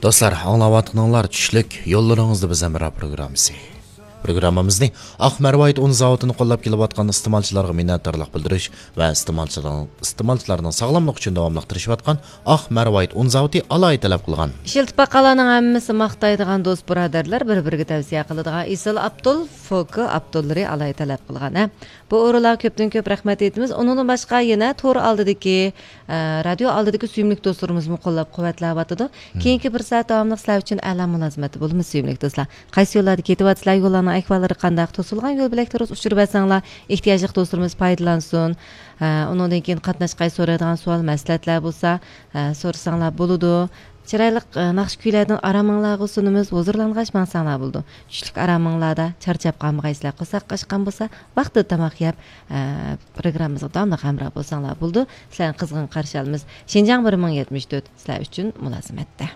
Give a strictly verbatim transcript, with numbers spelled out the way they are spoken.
دوستلار، ئاڭلاۋاتقىنىڭلار چۈشلۈك يوللىرىڭىزدا بىز ھەمراھ پروگراممىسى. پروگراممىمىزنى ئاق مەرۋايىت ئۇن زاۋۇتىنى قوللاپ كېلىۋاتقان ئىستېمالچىلارغا مىننەتدارلىق بىلدۈرۈش ۋە ئىستېمالچىلارنىڭ، ئىستېمالچىلارنىڭ ساغلاملىقى ئۈچۈن داۋاملىق تىرىشىۋاتقان ئاق مەرۋايىت ئۇن زاۋۇتى ئالاھىدە تەلەپ قىلغان. ئىشلىتىپ باققانلارنىڭ ھەممىسى ماختايدىغان دوست بۇرادەرلەر، بىر-بىرىگە تەۋسىيە قىلىدىغان ئېسىل ئابدۇل، فوكا ئابدۇللىرى ئالاھىدە تەلەپ قىلغان، ھە. بۇ ئورۇنلارغا كۆپتىن كۆپ رەھمەت ئېيتىمىز. ئۇنىڭدىن باشقا يەنە تور ئالدىدىكى، ئە، رادىيو ئالدىدىكى سۆيۈملۈك دوستلىرىمىزمۇ قوللاپ قۇۋۋەتلەۋاتىدۇ. كېيىنكى بىر سائەت داۋاملىق سىلەر ئۈچۈن ئەلا مۇلازىمەتتە بولىمىز، سۆيۈملۈك دوستلار. قايسى يوللاردا كېتىۋاتىسىلەر، يوللارنىڭ ئەھۋاللىرى قانداق، توسۇلغان يول بۆلەكلىرى ئۇچۇر بەرسەڭلار، ئېھتىياجلىق دوستلىرىمىز پايدىلانسۇن. ئە، ئۇنىڭدىن كېيىن قاتناشقاي سورايدىغان سوئال، مەسلىھەتلەر بولسا، ئە، سورىساڭلار بولىدۇ. چىرايلىق، ئە، ناخشا كۈيلەردىن ئارامىڭلارغا سۇنىمىز، ھۇزۇرلانغاچ ماڭساڭلار بولىدۇ. چۈشلۈك ئارامىڭلاردا چارچاپ قالمىغايسىلەر، قورساق ئاچقان بولسا، ۋاقتىدا تاماق يەپ، ئە، پروگراممىمىزغا داۋاملىق ھەمراھ بولساڭلار بولىدۇ. سىلەرنى قىزغىن قارشى ئالىمىز. شىنجاڭ بىر مىڭ يەتمىش تۆت سىلەر ئۈچۈن مۇلازىمەتتە.